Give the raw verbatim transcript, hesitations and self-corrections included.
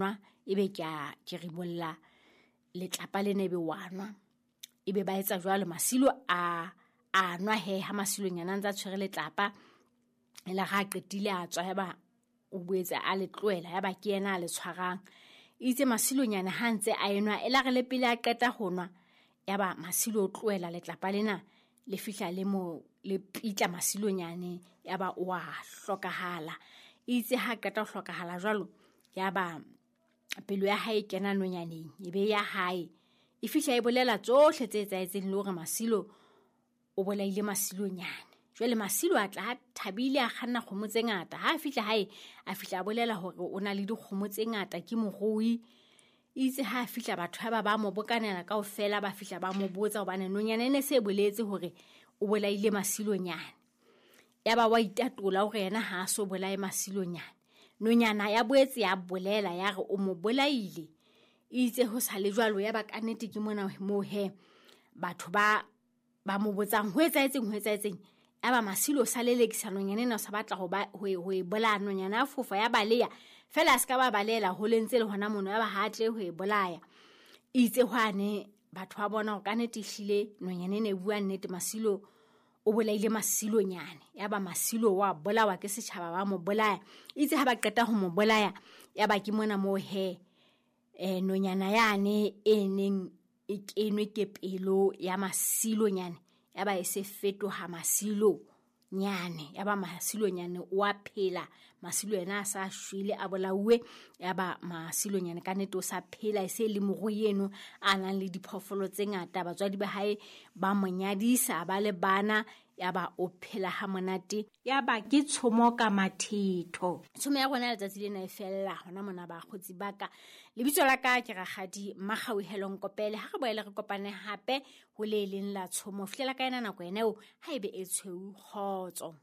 nwa, ebe ke a ke ribolla letlapa lena ebe wa nwa. Ebe ba etsa jwalo, Masilo a a nwa he ha Masilonyane a ntse a tshwere letlapa. Ela ha a qetile a tswa, yaba o boetse a le tlohela, yaba ke yena a le tshwarang. Itse Masilonyane ha ntse a enwa, ela re le pele a qeta ho nwa, yaba Masilo o tlohela letlapa lena le fihla le mo le pitla Masilonyane, yaba o a hlokahala. Itse ha qeta ho hlokahala jwalo, yaba pelo ya hae e kena nonyaneng, e be ya hae e fihla e bolela tsohle tse etsahetseng le hore Masilo o bolaile Masilonyane. Jwale Masilo a tla a thabile, a kganna kgomo tse ngata. Ha a fihla hae, a fihla a bolela hore o na le dikgomo tse ngata, ke morui. Itse ha a fihla batho ba ba mo bokanela kaofela, ba fihla ba mo botsa hobane nonyana e ne se boletse hore o bolaile Masilonyane. Yaba wa itatola hore yena ha a so bolaye Masilonyane. Nonyana ya boetse ya bolela ya re o mo bolaile. Itse ho sa le jwalo, yaba ka nnete ke mona moo he batho ba ba mo botsang ho etsahetseng, ho etsahetseng. Yaba Masilo o sa lelekisa nonyana ena, o sa batla ho ba ho e, ho e bolaya. Nonyana ya fofa ya baleya fela, a se ka ba balela ho le ntse le hona mono, yaba ha a tle ho e bolaya. Itse hwane batho ba bona hore ka nnete ehlile nonyana ena e bua nnete, Masilo o bolaile Masilonyane. Yaba Masilo wa bolawa ke setjhaba, ba mo bolaya. Itse ha ba qeta ho mo bolaya, yaba ke mona moo he eh nonyana yane e neng e kenwe ke pelo ya Masilonyane, yaba e se fetoha Masilonyane. Yaba Masilonyane o a phela, Masilo yena a sa shwele, a bolauwe. Yaba Masilonyane ka nnete o sa phela, e se le morui eno a nang le diphoofolo tse ngata. Batswadi ba hae ba mo nyadisa, ba le bana, yaba o phela ha monate. Yaba ke tshomo ka mathetho. Tshomo ya rona letsatsi lena e fella hona mona bakgotsi ba ka. Lebitso la ka ke Rakgadi Makgauhelo Nkopele. Ha re boele re kopane hape ho le leng la tshomo. Fihlela ka yena nako ena eo, ha ebe e tshweu, kgotso.